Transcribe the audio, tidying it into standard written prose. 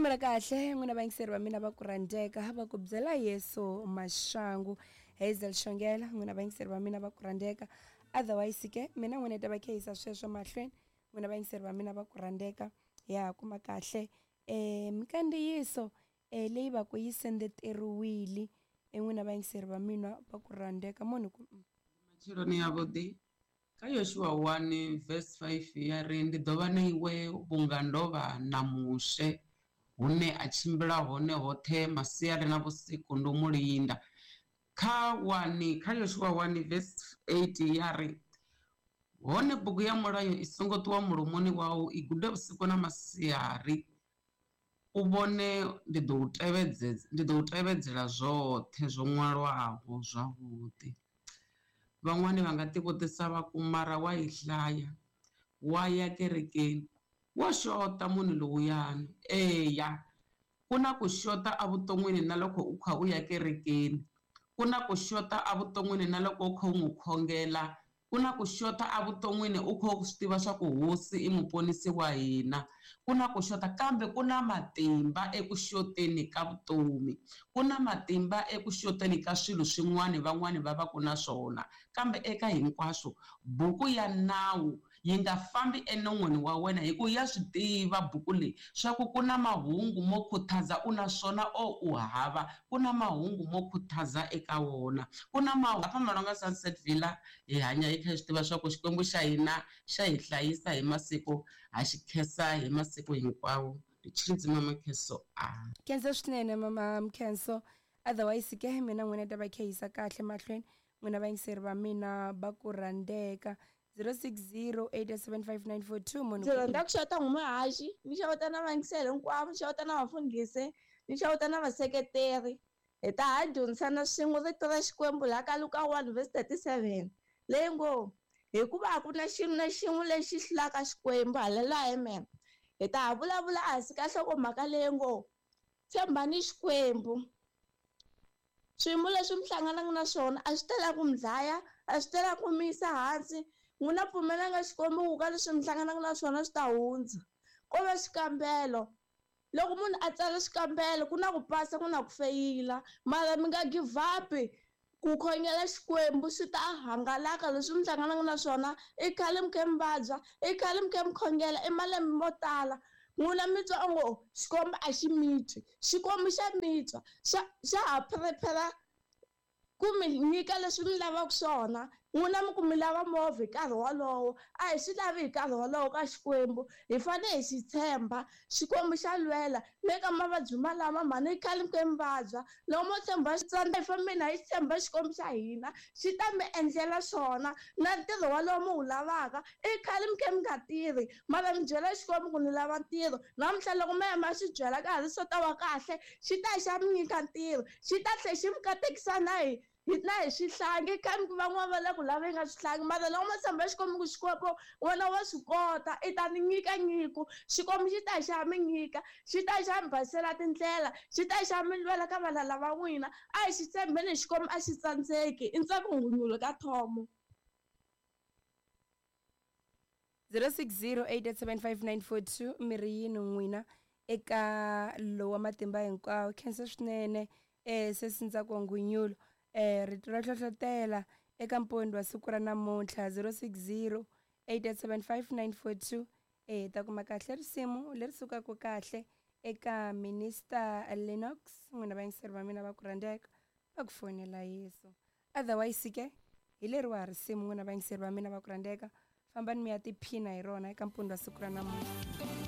Risimu ra kahle n'wina vayingiseri va mina va ku rhandzeka va ku byela Yesu maxangu. Hazel Xongela n'wina vayingiseri va mina va ku rhandzeka. Otherwise ke mina n'wina ta va khehisa sweswo mahlweni n'wina vayingiseri va mina va ku rhandzeka ya kuma kahle minkandziyiso leyi va ku yi sendeteriwile n'wina vayingiseri va mina va ku rhandzeka munhu ku Matsheloni yavhuḓi kha Yoshua 1 verse 5 ya ri ndi ḓo vha na iwe vhunga ndo vha na Mushe hune a tshimbila hone hoṱhe masiari na vhusiku ndo mu linda. Kha 1 kha Yoshua 1 verse 8 ya ri hone bugu ya mulayo i songo ṱuwa mulomoni wau, i gude vhusiku na masiari, u vhone ndi ḓo u tevhedzela zwoṱhe zwo ṅwalwaho zwavhuḓi. Van'wani va nga tivutisa va ku mara wa yi hlaya, wa ya kerekeni, wo xota munhu lowuyani. Eya, ku na ku xota evuton'wini na loko u kha u ya kerekeni, ku na ku xota evuton'wini na loko u kha u n'wi khongela, ku na ku xota evuton'wini u kha u swi tiva swa ku hosi i muponisi wa hina, ku na ku xota kambe ku na matimba eku xoteni ka vutomi, ku na matimba eku xoteni ka swilo swin'wana van'wani va va ku na swona. Kambe eka hinkwaswo buku ya nawu yi nga fambi enon'wini wa wena, hi ku ya swi tiva buku leyi swa ku ku na mahungu mo khutaza u na swona o u hava, ku na mahungu mo khutaza eka wona, ku na mahungu. Hapa Malonga Sunset Villa hi hanya hi kha hi swi tiva swa ku Xikwembu xa hina xa hi hlayisa hi masiku, ha xi khensa hi masiku hinkwawo. Tshilidzi mama Khenso a khensa swinene mama Mkhenso. Otherwise ke mina n'wina ta va khehisa kahle mahlweni n'wina vayingiseri va mina va ku rhandzeka. 0608755942 munhu ndzi rhandza ku xeweta n'wamuhaxi, ni xeweta na vayingiseri hinkwavo, ni xeweta na vafundhisi, ni xeweta na vaseketeri. Hi ta ha dyondzisana swin'we rito ra Xikwembu laha ka Luka 1 verse 37 leyi ngo hikuva a ku na xilo na xin'we lexi hlulaka Xikwembu. Haleluya, amen. Hi ta ha vulavula ehansi ka nhlokomhaka leyi ngo tshembani Xikwembu. Swiyimo leswi mi hlanganaka na swona a swi tala ku mi dlaya, a swi tala ku mi yisa hansi. N'wina pfumelanga Xikwembu ku ka leswi mi hlanganaka na swona swi ta hundza. Ko va xikambelo. Loko munhu a tsala xikambelo ku na ku pasa ku na ku feyila, mara mi nga give up ku khongela Xikwembu swi ta hangalaka leswi mi hlanganaka na swona. I khale mi kha mi vabya, i khale mi kha mi khongela i malembe mo tala. N'wina mi twa ongo Xikwembu a xi mi twi, Xikwembu xa mi twa, xa ha prepare ku mi nyika leswi mi lavaka swona. N'wina mi ku mi lava movha hi nkarhi wolowo, a hi swi lavi hi nkarhi wolowo ka Xikwembu. Hi fanele hi xi tshemba, Xikwembu xa lwela le ka mavabyi malama mhani i khale mi kha mi vabya. Loko mo tshemba xitsandza hi fambeni hi tshemba Xikwembu xa hina, xi ta mi endlela swona na ntirho wolowo mi wu lavaka. I khale mi kha mi nga tirhi, mara mi byela Xikwembu ku ni lava ntirho. Namuntlha loko mi ya mi ya xi byela ka ha ri swo ta va kahle, xi ta xa mi nyika ntirho, xi ta tlhela xi mi katekisa na hi na hi swihlangi. Kambe van'wana va le ku laveni ka swihlangi, mara loko mo tshemba Xikwembu ku Xikwembu wena wa swi kota, i ta ni nyika nyiko. Xikwembu xi ta xa mi nyika, xi ta xa mi basela tindlela, xi ta xa mi lwela ka valala va n'wina. A hi xi tshembeni Xikwembu a xi tsandzeki. I ntsako ngunyulo ka thomo. 0608755942 mi ri yini n'wina eka lowa matimba hinkwawo. Khensa swinene sesi Ntsako Ngunyulo. Rito ra hlohlotela eka mpondo wa siku ra namuntlha 0608755942. Ta kuma kahle risimu leri sukaka kahle eka Minister Lennox n'wina vayingiseri va mina va ku rhandzeka va ku fonela Yesu. Otherwise ke hi leriwa risimu n'wina vayingiseri va mina va ku rhandzeka, fambani mi ya tiphina hi rona eka mpondo wa siku ra namuntlha.